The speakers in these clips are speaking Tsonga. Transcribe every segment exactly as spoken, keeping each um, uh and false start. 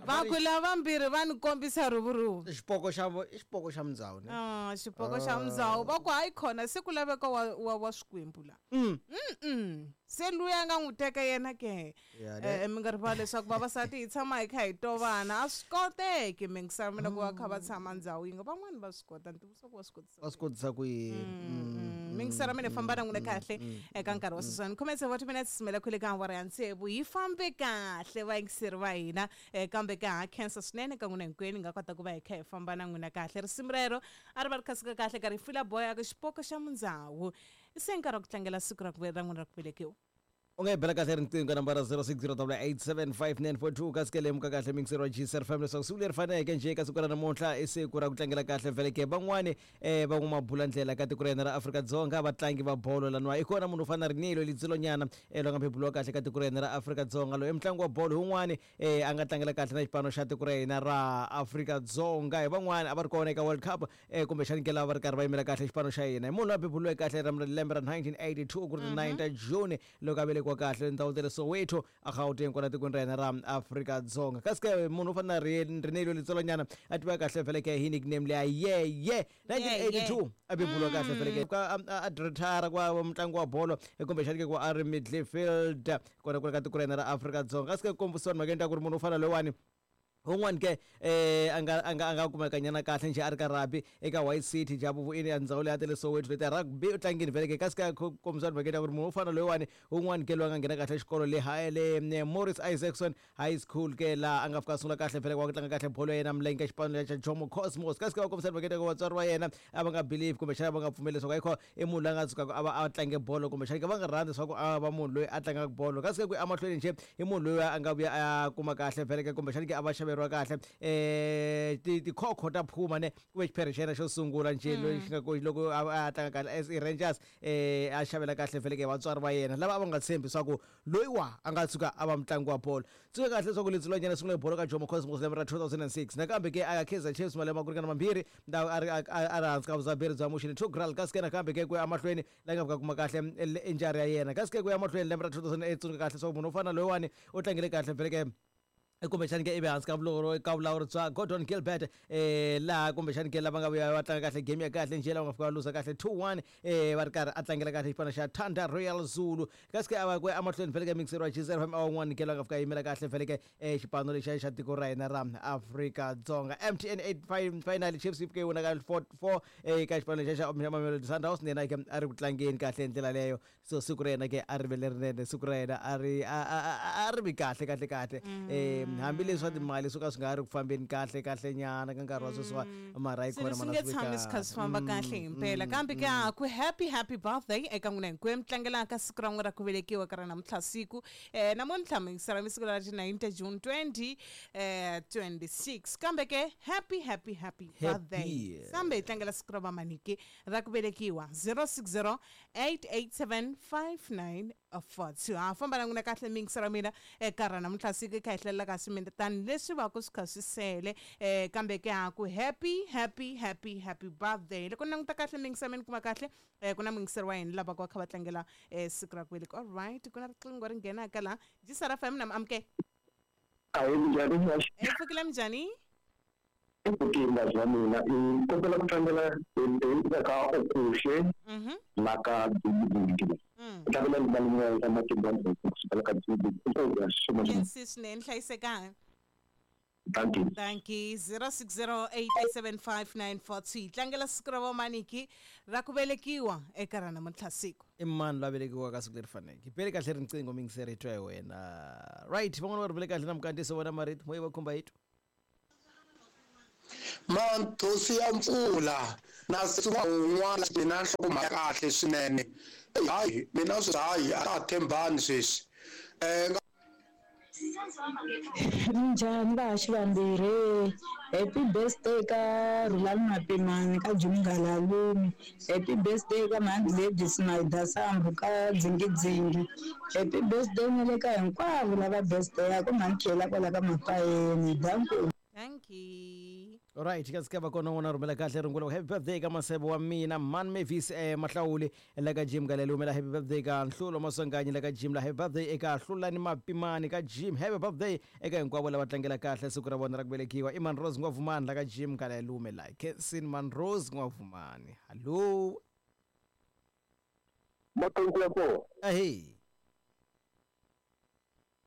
Va ku lavambirhi va ni kombisa rhuvuruvu. Xipoko xa i xipoko xa Mundzawu ne? Ah, xipoko xa Mundzawu va ku hayi khona se ku laveka wa wa, wa swikwembu la. Mm. Mm. Se luya nga n'wi teka yena ke. Eh mi nga rivali leswaku vavasati hi tshama hi kha hi tovana a swi koteki mi ngisara mina ku va kha va tshama ndhawu yin'we van'wani va swi kota ni tivisa ku va swi kotisa. Va swi kotisa ku yini? Mi ngisara mina famba na n'wina kahle eka nkarhi wa sweswiwani khume tsevu wa timinetse simela khule ka awara ya tsevu hi fambe kahle vayingiseri va hina kambe ka ha khensa swinene ka n'wina hinkwenu nga kota ku va hi kha hi famba na n'wina kahle risimu rero a ri va ri khasika kahle ka Rifula Boy a ku xipoko xa Mundzawu se nkarhi wa ku tlangela siku ra ku ra n'wina ra ku velekiwa. U nga yi bela kahle riqingho ka nambara zero six zero eight seven five nine four two kasi ke lemuka kahle mixer wa G S F M leswaku siku leri faneleke njhe ka siku ra namuntlha i siku ra ku tlangela kahle vheleke van'wani um van'wamabulandlela ka tiko ra hina ra Afrika-Dzonga vatlangi va bolo laniwa i kona munhu u fana na Rinilo Litsilonyana um loyi nga beburiwa kahle ka tiko ra hina ra Afrika-Dzonga loyi i mutlangi wa bolo wun'wani um a nga tlangela kahle na xipano xa tiko ra hina ra Afrika-Dzonga hi van'wani a va ri kona eka World Cup um kumbexani ke lava va ri karhi va yimela kahle xipano xa hina hi munhu loyi a beburiweke kahle ra lembe ra nineteen eighty-two ku ri nine ta June loko a velekiwa kahle ndhawu ta le Soweto a Gauteng kwala tikweni ra hina ra Afrika-Dzonga kasi ke munhu u fana na Rinelo Litsolonyana a tiva kahle vheleke hi nickname leya yeye nineteen eighty-two a beburiwa kahle vheleke a retire kwa mutlangi wa bolo kumbexani ke ku a ri midfield kona kule ka tiko ra hina ra Afrika-Dzonga kasi ke kombisiwa mhaka endla ku ri munhu u fana loyiwani un'wani ke eh anga anga anga kumeka nyana kahle nje a ri ka rugby eka White City Jabuvu ini ya ndzawulo ya tele Soweto leti rugby u tlangini vhele ke kasi ka kombisa mhaka ya ku ri munhu u fana loyiwani un'wani ke loyi a nga nghena kahle xikolo le ha le Morris Isaacson High School ke la a nga fika sungula kahle vhele wa ku tlanga kahle bolo ya yena milenge ka xipano xa Jomo Cosmos kasi ke va kombisa mhaka ya ku vatswari va yena a va nga believe kumbexana va nga pfumeli leswaku ayikho i munhu loyi a nga tsukaka a va a tlange bolo kumbexana ke va nga rhandzi leswaku a va munhu loyi a tlangaka bolo kasi ke ku emahlweni nje i munhu loyi a nga vuya a kuma kahle vhele ke kumbexana ke a va xaveriwa kahle eh ti tikhokho ta Phuma ne ku ve xiphere xa yena xo sungula nje loyi xi nga ku loko a tlanga kahle as i Rangers eh a xavela kahle vhele ke vatswari va yena lava a va nga tshembi leswaku loyi wa a nga tshuka a va mutlangi wa bolo tsuka kahle leswaku Litsilonyana sungule bolo ka Jomo Cosmos lembe ra two thousand and six nakambe ke a Kaizer Chiefs malembe ma ku ringana mambirhi ndhawu a ri a ri hansi ka vuzaberi bya Mushini Tugral kasi ke nakambe ke ku ya emahlweni la nga fika kuma kahle injury ya yena kasi ke ku ya emahlweni lembe ra two thousand and eight tsuka kahle leswaku munhu u fana loyiwani u tlangile kahle vhele ke kumbexani ke ivi hansi ka vulawuri ka vulawuri bya Gordon Gilbert eh laha kumbexani ke lava nga vuya va tlanga kahle game ya kahle njhe lava nga fika va luza kahle two one eh va ri karhi a tlangela kahle xipano xa Thunder Royal Zulu kasi ke a va ku emahlweni vhele ke mixer wa G S F M a wun'wani ke loyi a nga fika yimela kahle vhele ke eh xipano lexiya xa tiko ra hina ra Afrika-Dzonga M T N eight final Chiefs yi fike yi wina ka four four eka xipano lexiya xa Mamelodi Sundowns yena ke a ri ku tlangeni kahle hi ndlela leyo so siku ra yena ke a ri ve lerinene siku ra yena a ri a ri vi kahle kahle kahle eh hambileswi swa timali swo ka swi nga ri ku fambeni kahle kahle nyana ka nkarhi wa sweswiwa mara yi khona swi nge tshami swi kha swi famba kahle himpela kambe ke a ku happy happy birthday eka n'wina hinkwenu tlangelaka siku ra n'wina ra ku velekiwa ka ra namuntlha siku eh namuntlha mingisela mi siku ra ti nine ta June twenty twenty-six kambe ke happy happy happy birthday sambe hi tlangela siku ra vamaniki ra ku velekiwa zero six zero eight eight seven five nine four two ha famba na n'wina kahle mingisela mina eka ra namuntlha siku kha hi hlelela kasi mina tani leswi va ku swi kha swi sele eh kambe ke ha ku happy happy happy happy birthday loko ni languta kahle mingisela mina kuma kahle eh ku na mingiselo wa hina lava ku va kha va tlangela eh siku ra ku velekiwa. All right ku na riqingho ri nghenaka la G S F M na amke a hi njhani e pfukile minjhani i pfukile bya mina i kombela ku tlangela hi ka Okuhle na ka Dzingidzingi tlangela ni malume ya matimba kusukela ka Dzingidzingi swinene hlayisekanga. Thank you. Thank you. zero six zero eight eight seven five nine four two tlangela siku ra vamaniki ra ku velekiwa eka ra namuntlha siku. I mani loyi a velekiwaka ka siku leri faneleke bele kahle riqingho mingiseri hi twa hi wena right van'wana va ri vele kahle na mukandziso wena marito moya va khumba hi twa Manthosi ya mpfula na un'wana mina nhlokomhaka kahle swinene hayi mina swi hayi a ha tshembani sweswi eh Minjhani vahaxi vambirhi happy birthday ka Rhulani Mapimani ka Jimgalalumi happy birthday ka Mhandi Lady Snyder Sambu ka Dzingidzingi happy birthday na le ka hinkwavo lava birthday ya ku mhani Khela kwala ka Mapayeni danko. Thank you. Alright, kasi ka va kona n'wana rhumela kahle rungula happy birthday ka masebo wa mina Man Mavis eh, Mahlawuli la ka Jim Galele humela happy birthday ka Nhlulo Maswanganyi la ka Jim la happy birthday eka Hlulani Mapimani ka Jim happy birthday eka hinkwavo lava tlangela kahle siku ra vona ra ku velekiwa i Man Rose N'wavumani la ka Jim Galele humela Kensin Man Rose N'wavumani. Hallo. Matongo ya kona. Ahee.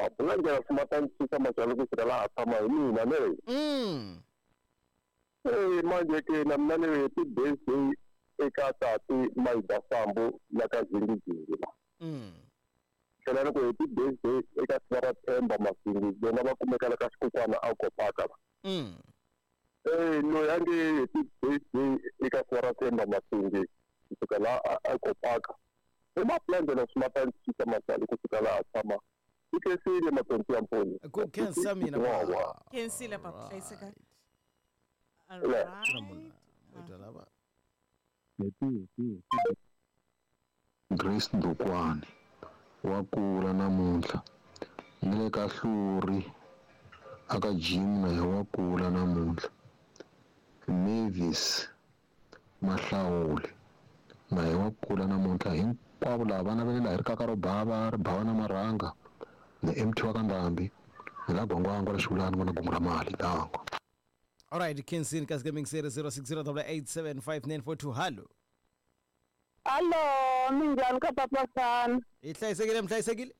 Apulanjela swimatanisa machalo ku laha tshama hi mina ne. Mm. Eh manje ke na mina ni happy birthday eka tati Maida Sambo la ka Zingizingi. Mm. Tlhela ni ku happy birthday eka Sivara Themba Masingi vona va kumeka la ka Xikukwana a Kopaka. Mm. Eh loyi a nge happy birthday eka Sivara Themba Masingi kusuka la a Kopaka. I mapulanjela swimatanisa machalo kusuka laha tshama. Ikesile matonto ya mponi. Ku khensa mina Wa. Khensile papa hlayiseka. Le. Alright. Lava. Grace Ndokwani wa kula namuntlha ni le ka Hluri aka Jim na wa kula namuntlha Mavis Mahlawuli na wa kula namuntlha hinkwavo lava va navelela hi ri kaka ro bava ri bava na marhanga ni M T wa ka Ndhambi ni la Gwangwangwa la Xivulani n'wana Gungu ra mali dango. Alright, Kensin kasi gaming series zero six zero eight seven five nine four two. Hallo. Hallo, minjhani ka papa Fana? Hi hlayisekile mi hlayisekile?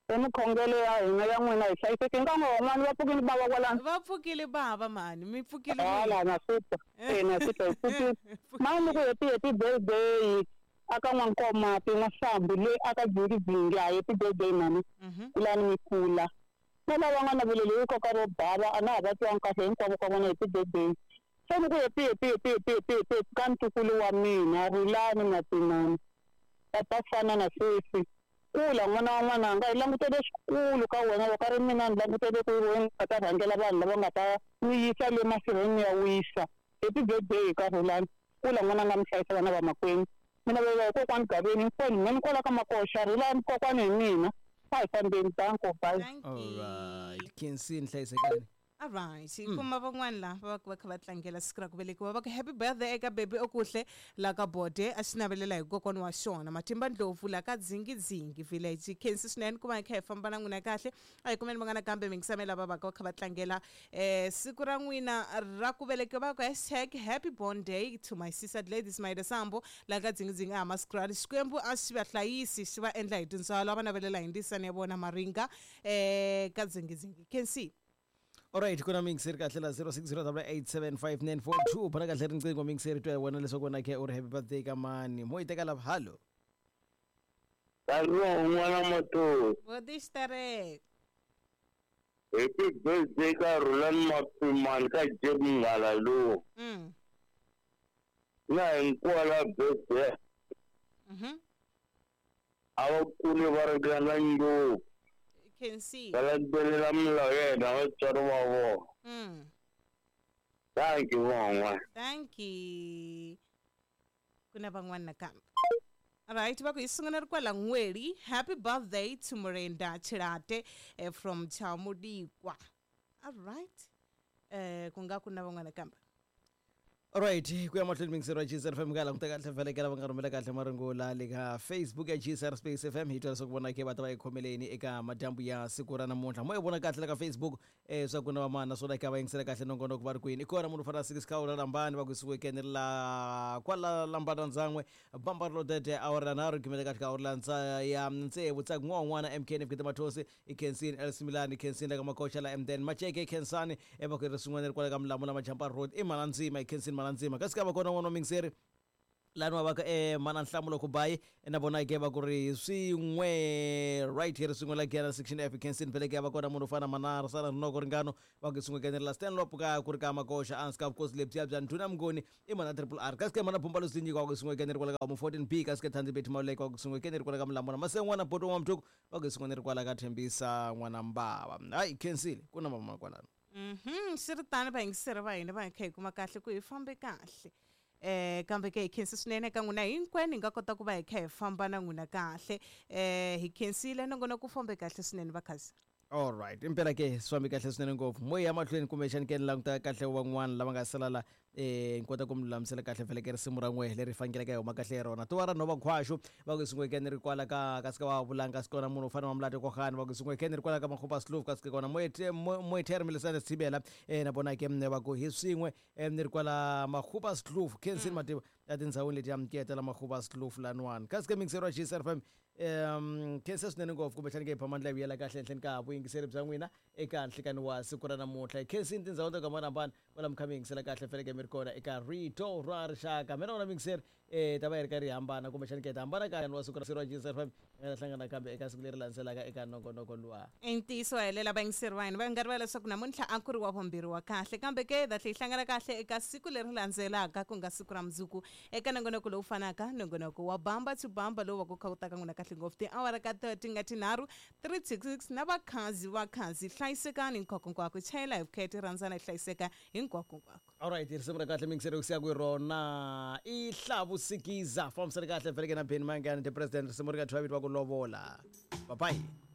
I mikhongelo ya hina ya n'wina hi hlayiseke nkan'we wun'wana va pfukile bava kwalano. Va pfukile bava mani, mi pfukile. Hala na swi twa. Eh na swi twa hi pfukile. Mani ku happy happy birthday aka N'wankoma N'wasambu le aka Zingizingi a happy birthday mani. Kulani mi kula. Na lava nga naveleli hi koka ro bava a na ha va twangi kahle hinkwavo ka vona happy birthday. Se ni ku happy happy happy happy happy happy ka ntukulu wa mina Rhulani Mapimani. Papa Fana na sweswi. Kula n'wana wa n'wananga hi langutele swikulu ka wena loko a ri mina ni langutele ku wena nga ta rhangela vanhu lava nga ta n'wi yisa le masirheni ya wisa. Happy birthday ka Rhulani. Kula n'wananga mi hlayisa vana va makwenu. Mina vela hi kokwani Gaveni hinkwenu mina ni kwala ka Makoxa Rhulani kokwani hi mina. A hi fambeni danko bye. Alright, Kensin hlayisekani. Alright, kuma van'wana la va va kha va tlangela siku ra ku velekiwa va ku happy birthday eka baby okuhle la ka Bode a xi navelela hi kokwana wa xona Matimba Ndlovu la ka Dzingidzingi village. Khensi swinene ku va hi kha hi famba na n'wina kahle a hi kumeni van'wana kambe mingisamela va va ka kha va tlangela eh siku ra n'wina ra ku velekiwa va ku hashtag happy born day to my sister Gladys Maida Sambo la ka Dzingidzingi a Maskrali. Xikwembu a xi va hlayisi xi va endla hi tintswalo va navelela hi ndisani ya vona Maringa eh ka Dzingidzingi. Khensi. Alright, kuna mixer kahle la zero six zero eight seven five nine four two bana kahle riqingho mixer twa wena leswaku wena ke uri happy birthday ka mani mo iteka la hallo. Hallo n'wana Mato. Vodistere. Happy birthday ka Rhulani Mapimani ka Jim Ngala lo. Mm. Na hinkwala birthday. Mhm. A va kule va ringana ngopfu. Can see. Va landzelela milawu ya hina vatswari va vona. Mm. Thank you van'wana. Thank you. Ku na van'wana nakambe. Alright, va ku hi sungula ri kwala N'weli. Happy birthday to Miranda Chirate eh, from Chamudikwa. Alright. Eh ku nga ku na van'wana kambe. Alright, ku ya mahlweni mixer wa G S R F M ka languta kahle vhelekela va nga rhumela kahle marungula le ka Facebook ya G S R Space F M hi twa leswaku vona ke va ta va yi khomeleni eka madyambu ya siku ra namuntlha. Mo yi vona kahle la ka Facebook eh swa ku na vamana naswona ka va yingisela kahle nongonoko va ri kwini. I kona munhu fana six ka Lambani va ku suke ni la kwala Lambana ndzan'we bamba ro dede awara nharhu gimela kahle ka awara ntsa ya ntsevu tsaku n'wana M K N F Gita Mathosi i Kensin L Similani Kensin la ka Makoxa la M Den Macheke Kensani e va ku ri swin'wana ri kwala ka Mlamula Majampa Road i Malandzima i Kensin Malandzima kasi ka va kona n'wana wa mixer lani wa va ka eh mana Nhlamulo Kubayi na vona ke va ku ri swin'we right here swin'we la Gera section F Kensin vele ke va kona munhu fana Manara Sala Rinoko Ringano va ku swin'we kenela Stanlop ka ku ri ka Makoxa anska vukosi lebyiya bya Ndhuna Mngoni i mana Triple R kasi ke mana Bumba Lusinyi ka ku swin'we kenela kwala ka mu fourteen B kasi ke Thandi Betty Maluleke wa ku swin'we kenela kwala ka Mlamula Masen'wana Boto wa Mthuku va ku swin'we ri kwala ka Thembisa n'wana Mbava. Hayi Kensile ku na mama kwalano. Mhm, swi ri tano vayingiseri va hina va hi kha hi kuma kahle ku hi fambe kahle. Eh kambe ke hi khensi swinene ka n'wina hinkwenu hi nga kota ku va hi kha hi famba na n'wina kahle. Eh hi khensile nongonoko ku fambe kahle swinene va khazi. All right, impela ke swi fambi kahle swinene ngopfu. Mo ya mahlweni kumbexani ke ni languta kahle van'wana lava nga sala la eh ni kota ku mi lulamisela kahle vhele ke risimu ra n'we leri faneleke hi huma kahle hi rona. Tuwa ra nhova khwaxu va ku sungwe ke ni ri kwala ka ka sika wa vulanga kasi kona munhu u fanele wa mulati kohani va ku sungwe ke ni ri kwala ka Makgopa Sloof kasi kona Moethere Milisane Sibela eh na vona ke va ku hi swin'we eh ni ri kwala Makgopa Sloof Kensini Madiba ya tindhawini leti ya mketela Makgopa Sloof lanwani kasi ke mixero wa G S R F M um khensa swinene ngopfu kumbexani ke hi phamandla hi vuyela kahle henhleni ka vuyingiseri bya n'wina eka nhlikani wa siku ra namuntlha. Hi khensini tindhawu to hambanahambana kwala mi kha mi yingisela kahle faneleke mi ri kona eka Rito ra Rixaka. Mina wona miyingiseri um ta va yi ri karhi yi hambana kumbexani ke ta hambana ka wa siku ra ra G S R F M hi nga ta hlangana kambe eka siku leri landzelaka eka nongonoko luwa. I ntiyiso helela vayingiseri va hina va nga rivala leswaku namuntlha a ku ri wa vumbirhi wa kahle, kambe ke hi ta tlhela hi hlangana kahle eka siku leri landzelaka ku nga siku ra mundzuku eka nongonoko lowu fanaka, nongonoko wa Bamba to Bamba lowu va ku kha wu ta ka n'wina kahle ngopfu tiawara ka ti nga tinharhu three to six na vakhazi vakhazi. Hlayisekani hinkwako, chayela hi vukheta, rhandzana hi hlayiseka hinkwako. Alright, risimu ra kahle miyingiseri ku siya ku rona i Hlavusikiza fambisani kahle vheleke na Benny Mayengani the president. Risimu ri nga thyiwa vito va ku lovola. Bye bye.